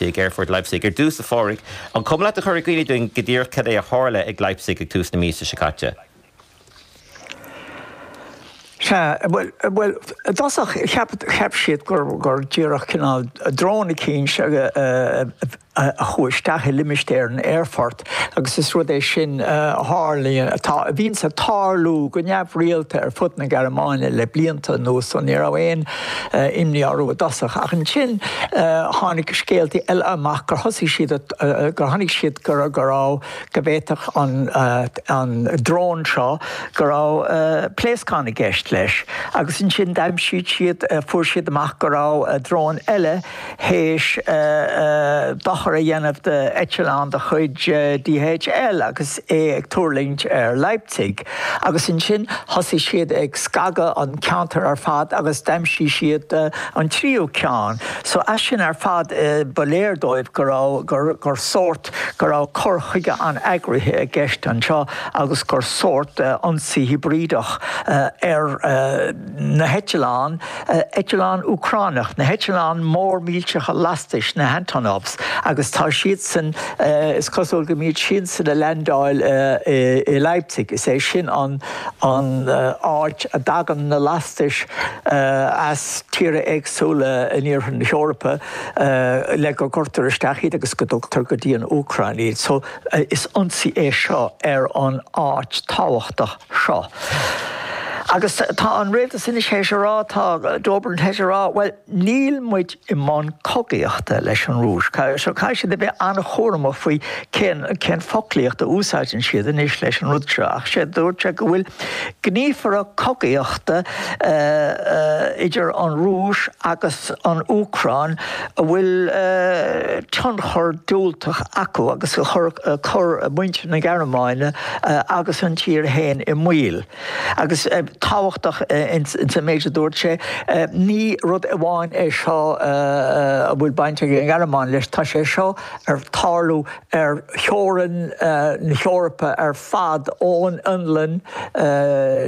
Ag Aerfort Leipzig. Ar dtús, a Phádraig, an cuma leat a chur i gcuimhne dúinn go díreach cad é a tharla ag Leipzig ag tús na míosa seo caite? Sea, bhuel, bhuel, i dtosach cheap, cheap siad gur, gur díreach cineál drón eicínt a, a chuaigh isteach i limistéar an aerfoirt agus is rud é sin a tharlaíonn, atá, a bhíonns ag tarlú go neamhrialta ar fud na Gearmáine le blianta anuas so ní raibh aon imní orthu i dtosach. Ach ansin tháinig scéaltaí eile amach gur thosaigh siad, gur tháinig siad go raibh, go bhféadfadh an an drón seo, go raibh pléascán i gceist leis. Agus ansin d'aimsigh siad, fuair siad amach go raibh drón eile théis dochar a dhéanamh d'eitleán de chuid DHL agus é ag tuirlingt ar Leipzig. Agus ansin thosaigh siad ag scagadh an ceantar ar fad agus d'aimsigh siad an tríú ceann. So as sin ar fad ba léir dóibh go raibh, gur, gur sórt, go raibh cur chuige an-eagraithe i gceist anseo agus gur sórt ionsaí hibrídeach ar na heitleáin, eitleáin Úcránach, na heitleáin mór millteacha lastais, na Antonovs, agus tá siadsan, is cosúil go mbíonn siadsan ag leaindeáil i Leipzig, is é sin an áit a dtagann na lastais as tíortha éagsúla in iarthar na hEorpa le go gcuirtear isteach iad agus go dtugtar go dtí an Úcráin iad. So is ionsaí é seo ar an áit tábhachtach seo. Agus tá an rialtas anois théis a rá, tá Dobrindt théis a rá, bhuel, níl muid i mbun cogaíochta leis an Rúis. So caithfidh siad a bheith an-chúramach faoi cén, cén foclaíocht a úsáideann siad anois leis an rud seo. Ach sé, dúirt sé go bhfuil gníomhartha cogaíochta idir an Rúis agus an Úcráin a bhfuil tionchar diúltach acu agus a chuir cur muintir na Gearmáine agus an tír féin i mbaol. Agus tábhachtach ins an méid a dúirt sé, ní rud amháin é seo a bhfuil baint ag an nGearmáin leis, tá sé seo ar tarlú ar theorainn na hEorpa ar fad ón Fhionlainn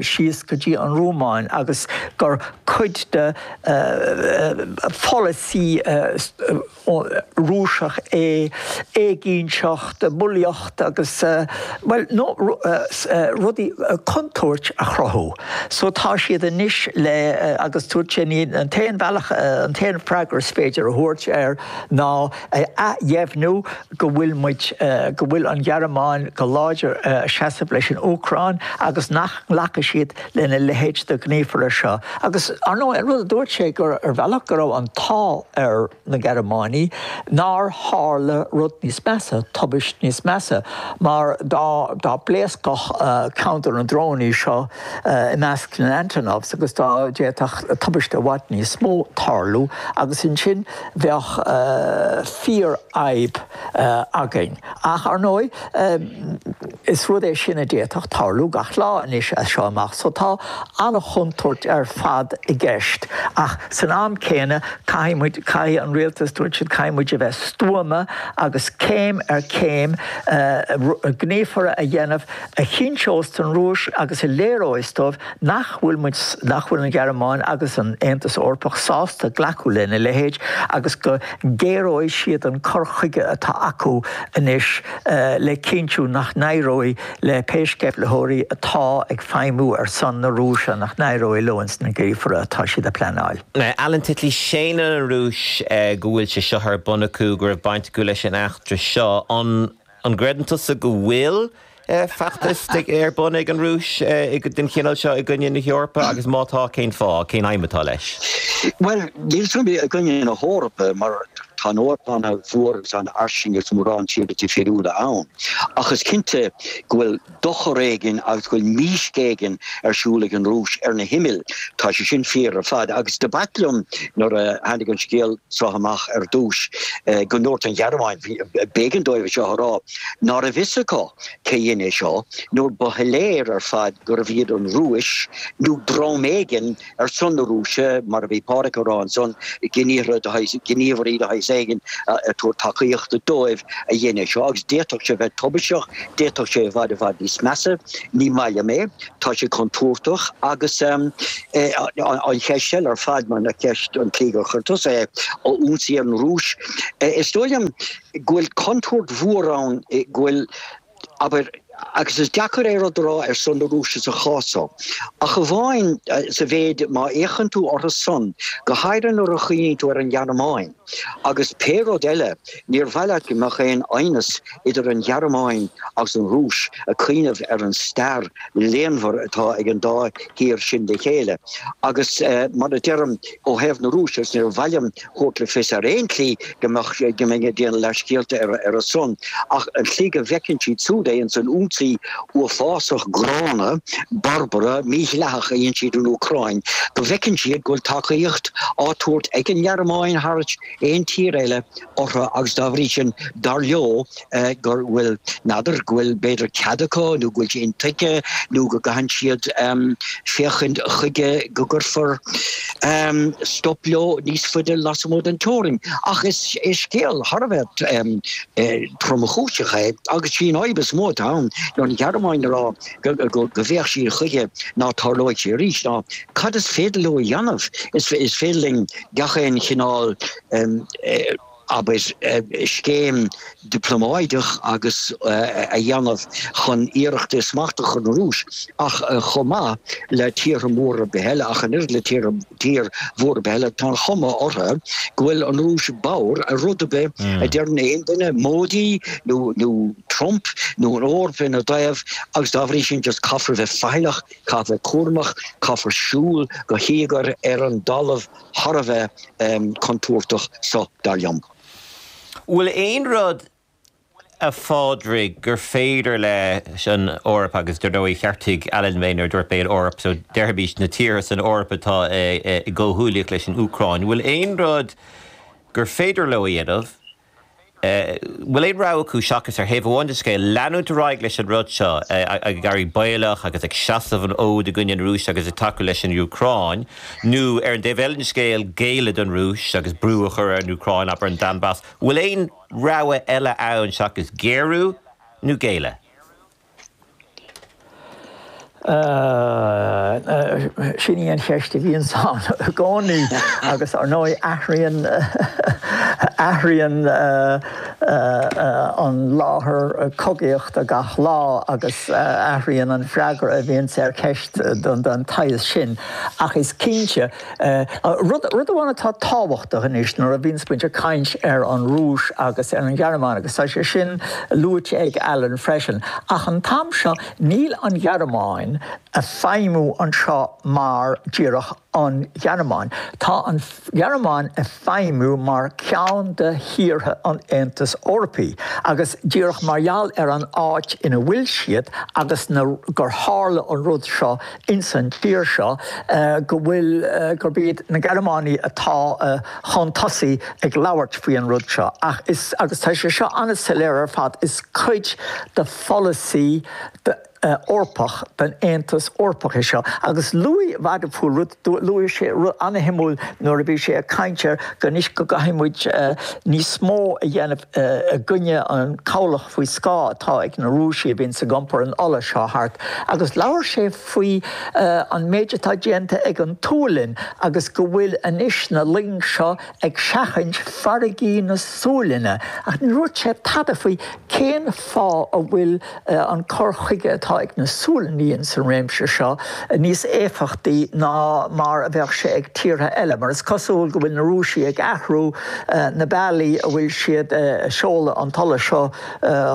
síos go dtí an Rúmáin agus gur cuid de pholasaí Rúiseach é éiginnteacht, bulaíocht agus, bhuel, nó rudaí, contúirt a chruthú. So tá siad anois le, agus dúirt sé, ní an t-aon bhealach, an t-aon freagra is féidir a thabhairt air ná a athdheimhniú go bhfuil muid, go bhfuil an Ghearmáin go láidir ag seasamh leis an Úcráin agus nach nglacfaidh siad lena leithéid de ghníomhartha seo. Agus, ar ndóigh, an rud a dúirt sé gur, ar bhealach, go raibh an t-ádh ar na Gearmánaigh nár tharla rud níos measa, tubaist níos measa, mar dá, dá bpléascfadh ceann de na drónaí seo i measc na nAntonovs agus dá d'fhéadfadh tubaiste i bhfad níos mó tarlú agus ansin bheadh fíorfhadhb againn. Ach, ar ndóigh, is rud é sin a d'fhéadfadh tarlú gach lá anois as seo amach, so tá an-chontúirt ar fad i gceist. Ach san am céanna, caithfidh muid, caithfidh an rialtas, dúirt siad, caithfidh muid a bheith stuama agus céim ar chéim gníomhartha a dhéanamh a chinnteos don Rúis agus a léireoidh dóibh nach bhfuil muid, nach bhfuil an Ghearmáin agus an Aontas Eorpach sásta glacadh lena leithéid agus go ngéaróidh siad an cur chuige atá acu anois le cinntiú nach n-éireoidh le pé sceimhlitheoirí atá ag feidhmiú ar son na Rúise, nach n-éireoidh leo ins na gníomhartha atá siad a pleanáil. Alan Titley, Séanann an Rúis go bhfuil sé seo ar bun acu, go raibh baint acu leis an eachtra seo. An. An gcreideann tusa go bhfuil feachtas ar bun ag an Rúis den chineál seo i gcoinne na hEorpa agus má tá, cén fáth, cén aidhm atá leis? Bhuel, níl 's agam i gcoinne na hEorpa mar tá an Eoraip an-mhór agus an-fhairsing agus mórán tíortha difriúla ann. Ach is cinnte go bhfuil dochar éigin agus go bhfuil mísc éigin ar siúl ag an Rúis ar na himill. Tá sé sin fíor ar fad. Agus do b'ait liom nuair a tháinig an scéal seo amach ar dtús go ndúirt an Ghearmáin, b'éigean dóibh é seo a rá, ná raibh fhios acu cé dhein é seo nuair ba shoiléir ar fad gurbh iad an Rúis nó dream éigin ar son na Rúise, mar a bhí Pádhraic a rá ansan, gníomhairí de shaghas. saghas éigin ag tabhairt tacaíochta dóibh a dhein é seo agus d'fhéadfadh sé bheith tubaisteach, d'fhéadfadh sé i bhfad i bhfad níos measa, ní maith liom é, tá sé contúirteach agus an cheist eile ar fad mar na ceist an tslí gur chuir tusa é, ionsaí ar an Rúis, is dóigh liom go bhfuil contúirt mhór ann go bhfuil Abair, agus is deacair é rud a rá ar son na Rúise sa chás so, ach amháin sa mhéid má fhéachann tú orthu san, go háirithe nuair a chuimhníonn tú ar an Ghearmáin, agus pé rud eile, níor mhaith leat go mbeadh aon aighneas idir an Ghearmáin agus an Rúis, ag cuimhneamh ar an stair léanmhar atá ag an dá thír sin le chéile. Agus mar a deirim, ó thaobh na Rúise, agus níor mhaith liom thabhairt le fios ar aon tslí go mbeadh, go mbeinn ag déanamh leathscéalta ar a son, ach an tslí go bhfeiceann siad siúd é, ins an ionsaí uafásach gránna, barbartha, mídhleathach a dhein siad an Úcráin, go bhfeiceann siad go bhfuil tacaíocht á tabhairt ag an nGearmáin thar aon tír eile orthu agus dá bhrí sin, dar leo, go bhfuil, n'fheadar, go bhfuil b'fhéidir cead acu nó go bhfuil sé intuigthe nó go gcaitheann siad féachaint chuige go gcuirfear stop leo níos faide lasmuigh den teorainn. Ach is scéal thar a bheith tromchúiseach é agus sí an fhadhb is mó atá ann ná an Ghearmáin a rá go bhféach siad chuige ná tarlóidh sé arís ná cad is féidir leo a dhéanamh. Is féidir linn gach aon chineál abair, scéim dioplómáideach agus a dhéanamh chun iarracht smacht a chur ar an Rúis, ach chomh maith le tíortha móra ar bith eile, ach an oiread le tír mhór ar bith eile, tá an chuma orthu go bhfuil an Rúis bodhar ar rud ar bith a deireann aon duine, Modi nó nó Trump nó an Eoraip ina dtaobh, agus dá bhrí sin just caithfear a bheith faichilleach, caithfear a bheith cúramach, caithfear siúl go híogair ar an dtalamh. thar a bheith contúirteach so, dar liom. Bhfuil aon rud, a Phádraig, gur féidir leis an Eoraip, agus dar ndóigh cheartaigh Alan mé nuair a dúirt mé an Eoraip, so déarfaimis na tíortha san Eoraip atá i gcomhghuaillíocht leis an Úcráin, bhfuil aon rud gur féidir leo a dhéanamh bhfuil aon rogha acu seachas, ar thaobh amháin den scéal, leanúint ar aghaidh leis an rud seo, ag éirí baolach agus ag seasamh an fhóid i gcoinne na Rúise agus ag tacú leis an Úcráin, nó ar an dtaobh eile den scéal, géilleadh don Rúis agus brú a chur ar an Úcráin, abair an Donbas. Bhfuil aon rogha eile ann seachas géarú nó géilleadh? Sin í an cheist a bhíonns ann i gcónaí agus ar ndóigh athraíonn athraíonn an láthair cogaíochta gach lá agus athraíonn an freagra a bhíonns ar cheist den tsaghas sin. Ach is cinnte Rud amháin atá tábhachtach anois nuair a bhíonns muid ag caint ar an Rúis agus ar an Ghearmáin, agus tá sé sin luaite ag Alan freisin, ach an t-am seo níl an Ghearmáin a' feidhmiú anseo mar díreach an Ghearmáin. Tá an Ghearmáin a' feidhmiú mar ceann de thíortha an Aontais Eorpaigh agus díreach mar gheall ar an áit ina bhfuil siad agus gur tharla an rud seo ins an tír seo go bhfuil, gurb iad na Gearmánaigh atá chun tosaigh ag labhairt faoi an rud seo. Ach is, agus tá sé seo an-soiléir ar fad, is cuid de pholasaí Eorpach den Aontas Eorpach é seo. Agus luaigh Wadephul rud, luaigh sé rud an-shuimiúil nuair a bhí sé ag caint ar go anois go gcaithfidh muid níos mó a dhéanamh i gcoinne an cabhlach faoi scáth atá ag na Rúisigh a bhíonns ag iompar an ola seo thart agus labhair sé faoi an méid atá déanta ag an tSualainn agus go bhfuil anois na loing seo ag seachaint farraigí na Sualainne ach ní dúirt sé tada faoi cén fáth a bhfuil an cur chuige atá ag na Sualannaigh ins an réimse seo níos éifeachtaí ná mar a bheadh sé ag tíortha eile, mar is cosúil go bhfuil na Rúisigh ag athrú na bealaí a bhfuil siad ag seoladh an t-ola seo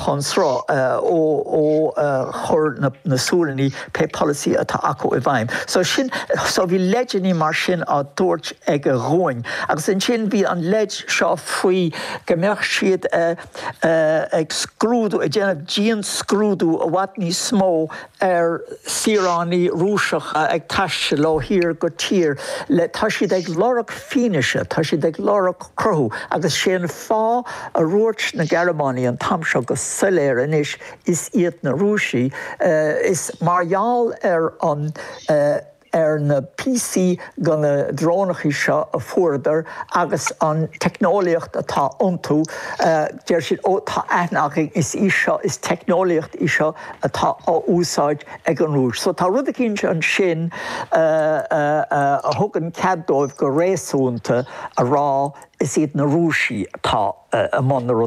chun sruth ó chuir na Sualannaigh pé polasaí atá acu i bhfeidhm. So sin, so bhí leideanna mar sin á dtabhairt aige dhúinn. Agus ansin bhí an leid seo faoi go mbeadh siad ag scrúdú, ag déanamh dianscrúdú i bhfad níos mó ar saoránaigh Rúiseacha ag taisteal ó thír go tír le, tá siad ag lorg fianaise, tá siad ag lorg cruthú agus sé an fáth a dhúirt na Gearmánaigh an t-am seo go soiléir anois is iad na Rúisigh, is mar gheall ar an. ar na píosaí de na drónachaí seo a fuaireadar agus an teicneolaíocht atá iontu, deir siad, ó tá aithne againn, is í seo, is teicneolaíocht í seo atá á úsáid ag an Rúis. So tá rud eicínt ansin a thugann cead dóibh go réasúnta a rá is iad na Rúisigh atá i mbun na.